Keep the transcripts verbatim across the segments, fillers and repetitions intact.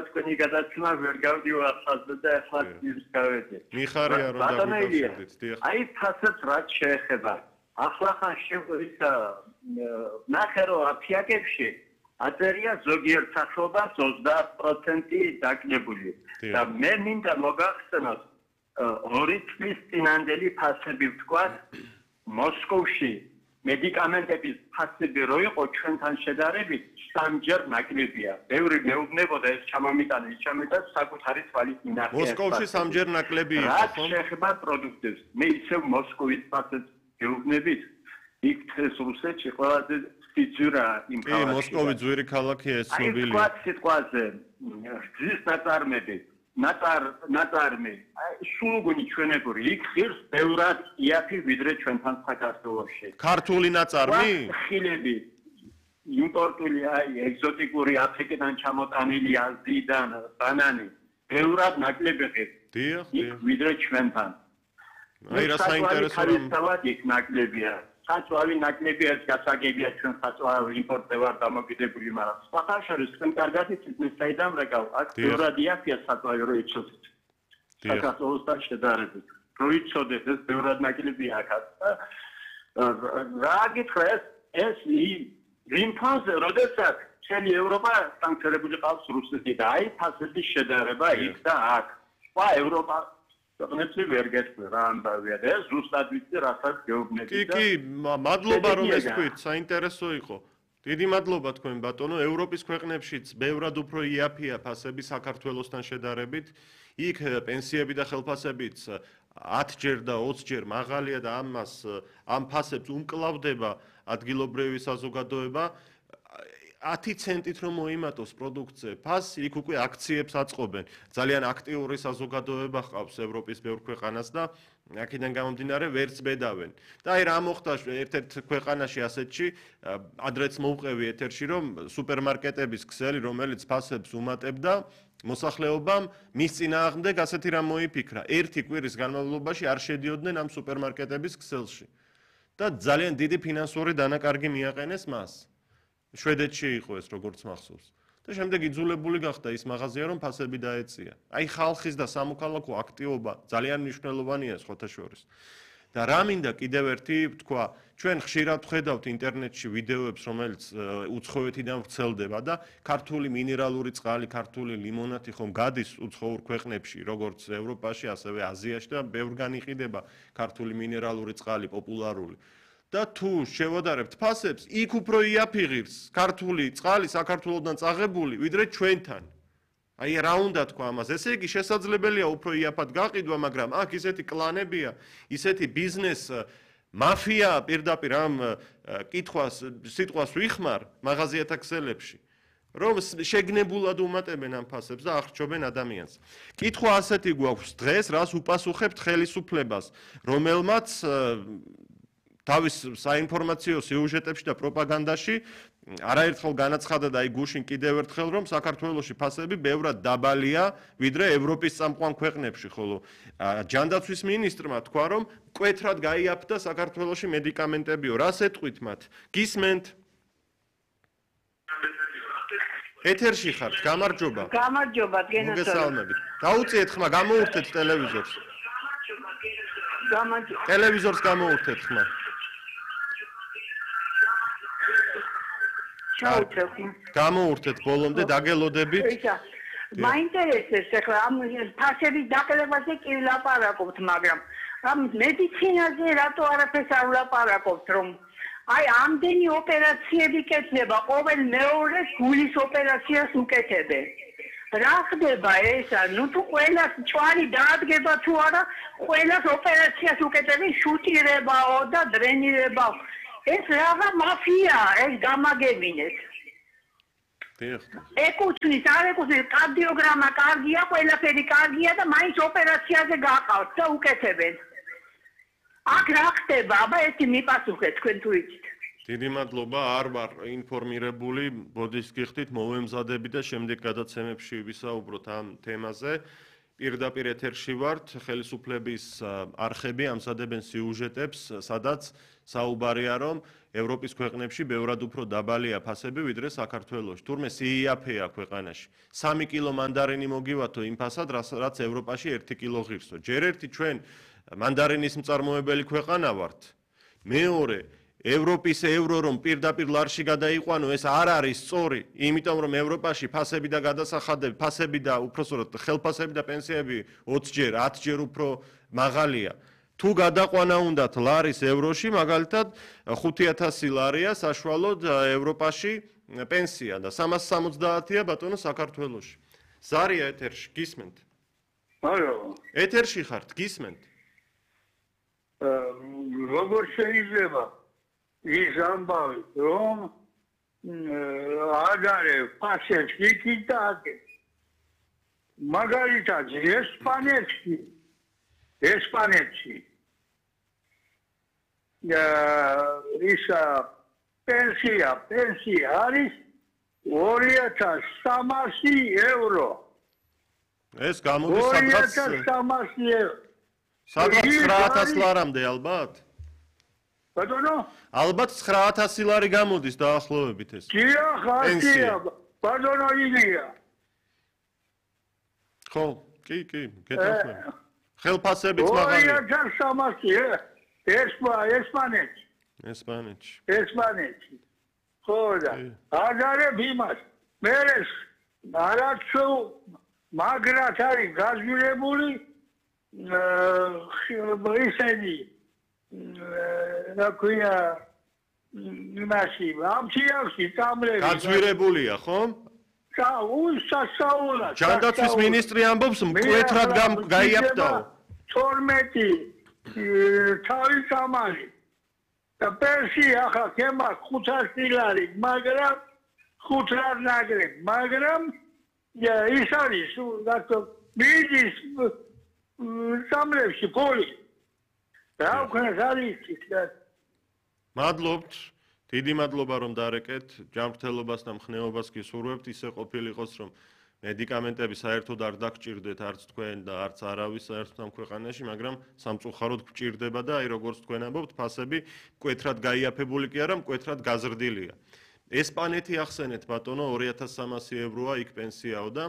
თქვენი გადაცემა ვერ გავდივახსნა და ახლა ის გავედი. მიხარია რომ დაგვიკავშირდით, დიახ. აი ფასებს რაც შეეხება. ახლა ხან შეგვიძლია ნახე რომ აფიაკებში აწერია ზოგიერთ სახეობას ოცდაათ პროცენტი დაკნებული. და მე მინდა მოგახსენოთ ორი წლის წინანდელი ფასები ვთქვათ მოსკოვში მედიკამენტების ფასები რო იყო ჩვენთან შედარებით სამჯერ ნაკლებია. ბევრი მეუბნებოდა ეს ჩამომიტანა, ის ჩამოიტანა საკუთარი თვალით მინახე. მოსკოვში სამჯერ ნაკლები იყო, ხო? რა შეეხება პროდუქტებს. მე ისევ მოსკოვის ფასებს გეუბნებით. იქ ეს რუსეთში ყველაზე სიძურა იმ ქალაქში. კი, მოსკოვი ძვირი ქალაქია ეს ცნობილია. აი, თქვა სიტყვაზე გზის ნაწარმები, ნაწარ ნაწარმი, სულგუნი ჩვენებური, იქ ღირს ბევრად იაფი ვიდრე ჩვენთან საქართველოში. ქართული ნაწარმი? ხილები იმპორტული აი ეგზოტიკური აფრიკიდან ჩამოტანილი აზიიდან ბანანი ბევრად ნაკლები ღირს. დიახ, იქ ვიდრე ჩვენთან. აი რა საინტერესო რომ იქ ნაკლებია. საწვავი ნაკლებია ეს გასაგებია ჩვენ საწვავი იმპორტზე ვარ დამოკიდებული, მაგრამ სხვა შორის თქვენ კარგად იცით მე საიდან რეკავ აქ ბევრად იაფია საწვავი რო იცოდეთ. საქართველოსთან შედარებით. რო იცოდეთ ეს ბევრად ნაკლებია აქ. რა გითხრეს ეს იმ ფაზე როდესაც მთელი ევროპა სანქციონირებული ყავს რუსეთი და აი ფასების შედარება იქ და აქ. სხვა ევროპა ქვეყნებში ვერ გეცნო რა ამბავია და ეს ზუსტად ვიცი რასაც გეუბნები და კი კი მადლობა რომ ეს თქვით საინტერესო იყო დიდი მადლობა თქვენ ბატონო ევროპის ქვეყნებშიც ბევრად უფრო იაფია ფასები საქართველოსთან შედარებით იქ პენსიები და ხელფასებიც ათჯერ და ოცჯერ მაღალია და ამას ამ ფასებს უმკლავდება ადგილობრივი საზოგადოება ათი ცენტით რომ მოიმატოს პროდუქტზე ფასი იქ უკვე აქციებს აწყობენ ძალიან აქტიური საზოგადოება ჰყავს ევროპის ბევრ ქვეყანას და აქედან გამომდინარე ვერც ბედავენ და აი რა მოხდა ერთ-ერთ ქვეყანაში ასეთში ადრეც მოვყევი ეთერში რომ სუპერმარკეტების ქსელი რომელიც ფასებს უმატებდა მოსახლეობამ მის წინააღმდეგ ასეთი რამ მოიფიქრა ერთი კვირის განმავლობაში არ შედიოდნენ ამ სუპერმარკეტების ქსელში და ძალიან დიდი ფინანსური დანაკარგი მიაყენეს მას შვედეთში იყო ეს როგორც მახსოვს და შემდეგ იძულებული გახდა ის მაღაზია რომ ფასები დაეწია. აი ხალხის და სამოქალაქო აქტივობა ძალიან მნიშვნელოვანია სხვათა შორის. და რა მინდა კიდევ ერთი თქვა, ჩვენ ხშირად ვხედავთ ინტერნეტში ვიდეოებს, რომელიც უცხოეთიდან ვრცელდება და ქართული მინერალური წყალი, ქართული ლიმონადი ხომ გადის უცხოურ ქვეყნებში, როგორც ევროპაში, ასევე აზიაში და ბევრგან იყიდება ქართული მინერალური წყალი პოპულარული. და თუ შევადარებთ ფასებს, იქ უფრო იაფი ღირს ქართული წყალი საქართველოსთან წაღებული, ვიდრე ჩვენთან. აი რა უნდა თქვა ამას? ესე იგი შესაძლებელია უფრო იაფად გაყიდვა, მაგრამ აქ ისეთი კლანებია, ისეთი ბიზნეს მაფია პირდაპირ ამ კითხვას, სიტყვას ვიხმარ მაღაზიათა ქსელებში. რომ შეგნებულად უმატებენ ამ ფასებს და ახრჩობენ ადამიანს. კითხვა ასეთი გვაქვს დღეს, რას უპასუხებთ ხელისუფლებას, რომელმაც თავის საინფორმაციო სიუჟეტებში და პროპაგანდაში არაერთხელ განაცხადა და აი გუშინ კიდევ ერთხელ რომ საქართველოში ფასები ბევრად დაბალია ვიდრე ევროპის წამყვან ქვეყნებში, ხოლო ჯანდაცვის მინისტრმა თქვა რომ მკვეთრად გაიაფთა საქართველოში მედიკამენტებიო. რას ეტყვით მათ? გისმენთ? ეთერში ხართ, გამარჯობა. გამარჯობა, გენაცვალე. მოგესალმებით. დაუწიეთ ხმა, გამოურთეთ ტელევიზორს. გამარჯობა. ტელევიზორს გამოურთეთ ხმა. გამოურთეთ ბოლომდე დაგელოდებით. მაინტერესებს ახლა ამ ფასების დაკლებაზე კი ვლაპარაკობთ, მაგრამ ამ მედიცინაზე რატო არაფერს არ ვლაპარაკობთ, რომ აი ამდენი ოპერაციები კეთდება, ყოველ მეორეს გულის ოპერაციას უკეთებენ. რა ხდება ესა? ნუ თუ ყველას ჭვარი დაადგება თუ არა, ყველას ოპერაციას უკეთებენ, შუტირებაო და დრენირებაო. ეს რაღა მაფია, ეს გამაგებინეთ. დიახ. ეკუთვნის, არ ეკუთვნის, კარდიოგრამა კარგია, ყველაფერი კარგია და მაინც ოპერაციაზე გაყავთ და უკეთებენ. აქ რა ხდება? აბა ერთი მიპასუხეთ თქვენ თუ იცით. დიდი მადლობა, არ ვარ ინფორმირებული, ბოდის გიხდით, მოვემზადები და შემდეგ გადაცემებში ვისაუბროთ ამ თემაზე. პირდაპირ ეთერში ვართ, ხელისუფლების არხები ამზადებენ სიუჟეტებს, სადაც საუბარია რომ ევროპის ქვეყნებში ბევრად უფრო დაბალია ფასები ვიდრე საქართველოში. თურმე სიიაფეა ქვეყანაში. სამი კილო მანდარინი მოგივათო იმ ფასად, რაც ევროპაში ერთი კილო ღირსო. ჯერ ერთი ჩვენ მანდარინის მწარმოებელი ქვეყანა ვართ. მეორე ევროპის ევრო რომ პირდაპირ ლარში გადაიყვანო, ეს არ არის სწორი, იმიტომ რომ ევროპაში ფასები და გადასახადები, ფასები და უпроსორად ხელფასები და პენსიები ოცჯერ, ათჯერ უფრო მაღალია. თუ გადაყვანა უნდათ ლარის ევროში, მაგალითად ხუთი ათასი ლარია საშუალოდ ევროპაში პენსია და სამას სამოცდაათია ბატონო საქართველოში. ზარია ეთერში, გისმენთ? ალო. ეთერში ხართ, გისმენთ? როგორ შეიძლება ის ამბავი, რომ აგარე ფასებს იქით და აქეთ. მაგალითად ესპანეთში ესპანეთში ისა პენსია პენსია არის ორი ათას სამასი ევრო. ეს გამოდის სადღაც ორი ათას სამასი ევრო. სადღაც ცხრა ათას ლარამდე ალბათ? ბატონო? ალბათ ცხრა ათასი ლარი გამოდის დაახლოებით ეს. დიახ, ასია, ბატონო ილია. ხო, კი, კი, გეთანხმები. ხელფასებიც მაღალია. ორი ათას სამასი ესპანეთში. ესპანეთში. ესპანეთში. ხო და აგარებ იმას. მე არაცო მაგრად არის გაზვირებული ისენი რა ქვია იმაში ამჩიავში წამლები გაზვირებულია ხო? და უსასაულა ჯანდაცვის მინისტრი ამბობს მკვეთრად გაიაფთაო თორმეტი თავი სამალი და პენსია ახლა ქემა ხუთასი ლარი მაგრამ ხუთ ლარ ნაგრებ მაგრამ ის არის რატო მიდის სამლებში პოლი რა ვქნას არის ის მადლობთ დიდი მადლობა რომ დარეკეთ ჯანმრთელობას და მხნეობას გისურვებთ ისე ყოფილიყოს რომ მედიკამენტები საერთოდ არ დაგჭირდეთ არც თქვენ და არც არავის საერთოდ ამ ქვეყანაში მაგრამ სამწუხაროდ გჭირდება და აი როგორც თქვენ ამბობთ ფასები მკვეთრად გაიაფებული კი არა მკვეთრად გაზრდილია ესპანეთი ახსენეთ ბატონო ორი ათას სამასი ევროა იქ პენსიაო და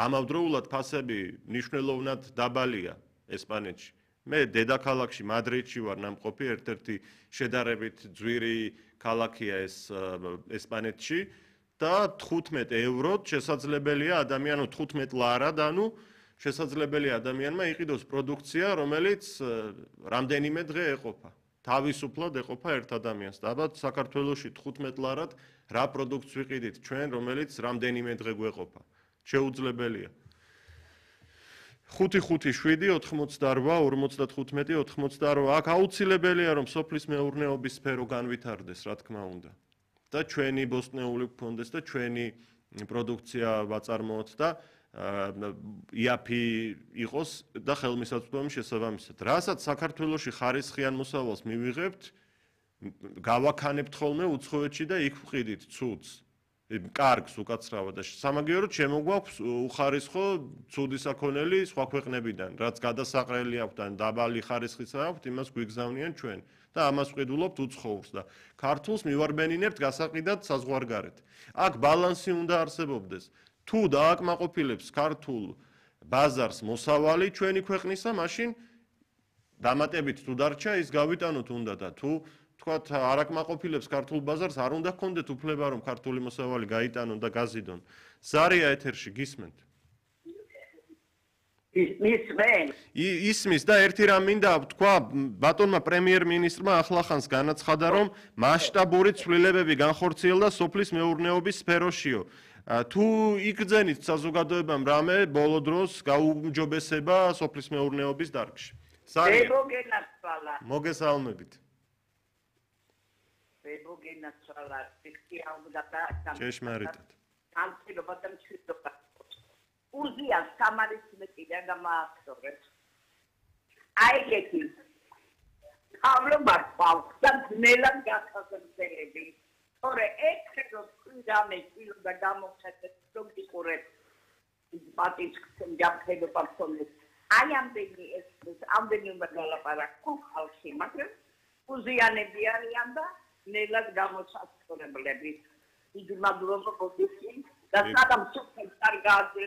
ამავდროულად ფასები მნიშვნელოვნად დაბალია ესპანეთში მე დედაქალაქში მადრიდში ვარ ნამყოფი ერთ-ერთი შედარებით ძვირი ქალაქია ეს ესპანეთში და თხუთმეტ ევროთ შესაძლებელია ადამიანო თხუთმეტ ლარად ანუ შესაძლებელია ადამიანმა იყიდოს პროდუქცია რომელიც რამდენიმე დღე ეყოფა თავისუფლად ეყოფა ერთ ადამიანს და ალბათ საქართველოში თხუთმეტ ლარად რა პროდუქტს ვიყიდით ჩვენ რომელიც რამდენიმე დღე გვეყოფა შეუძლებელია ხუთი ხუთი შვიდი ოთხმოცდარბა ორმოცდათხუთმეტი ოთხმოცდარბა აქ აუცილებელია რომ სოფლის მეურნეობის სფერო განვითარდეს რა თქმა უნდა და ჩვენი ბოსტნეული გქონდეს და ჩვენი პროდუქცია ვაწარმოოთ და იაფი იყოს და ხელმისაწვდომი შესაბამისად რასაც საქართველოში ხარისხიან მოსავალს მივიღებთ გავაქანებთ ხოლმე უცხოეთში და იქ ვყიდით ცუდს კარგს უკაცრავად და სამაგიეროდ შემოგვაქვს უხარისხო ცუდი საქონელი სხვა ქვეყნებიდან რაც გადასაყრელი აქვთ ან დაბალი ხარისხის აქვთ იმას გვიგზავნიან ჩვენ და ამას ვყიდულობთ უცხოურს და ქართულს მივარბენინებთ გასაყიდად საზღვარგარეთ აქ ბალანსი უნდა არსებობდეს თუ დააკმაყოფილებს ქართულ ბაზარს მოსავალი ჩვენი ქვეყნისა მაშინ დამატებით თუ დარჩა ის გავიტანოთ უნდა და თუ თქვათ არაკმაყოფილებს ქართულ ბაზარს არ უნდა გქონდეთ უფლება რომ ქართული მოსავალი გაიტანონ და გაზიდონ. ზარია ეთერში გისმენთ? ისმენ. ისმის და ერთი რამ მინდა თქვა ბატონმა პრემიერ-მინისტრმა ახლახანს განაცხადა რომ მასშტაბური ცვლილებები განხორციელდა სოფლის მეურნეობის სფეროშიო. თუ იგრძენით საზოგადოებამ რამე ბოლო დროს გაუმჯობესება სოფლის მეურნეობის დარგში. ზარია. მოგენაცვალა. მოგესალმებით. მოგენაცვალა ფიქრია და ჭეშმარიტად. ამცირობა და მშვიდობა. უზია სამარის მეტია გამააქცევს. აი ეგეთი. ამლობა ყავს და ძნელად გასაზრდელები. თორე ეგრე რომ რამე წილო და გამოხეთეთ პროდუქტურებს პატიცხენ ჯაფხება ფონდეს. აი ამდენი ეს ამდენი უნდა გალაპარაკო ხალხი, მაგრამ უზიანები არიან და ნელად გამოსაცხოვრებლები. დიდი მადლობა გოგიში და საგამ სუპერ კარგად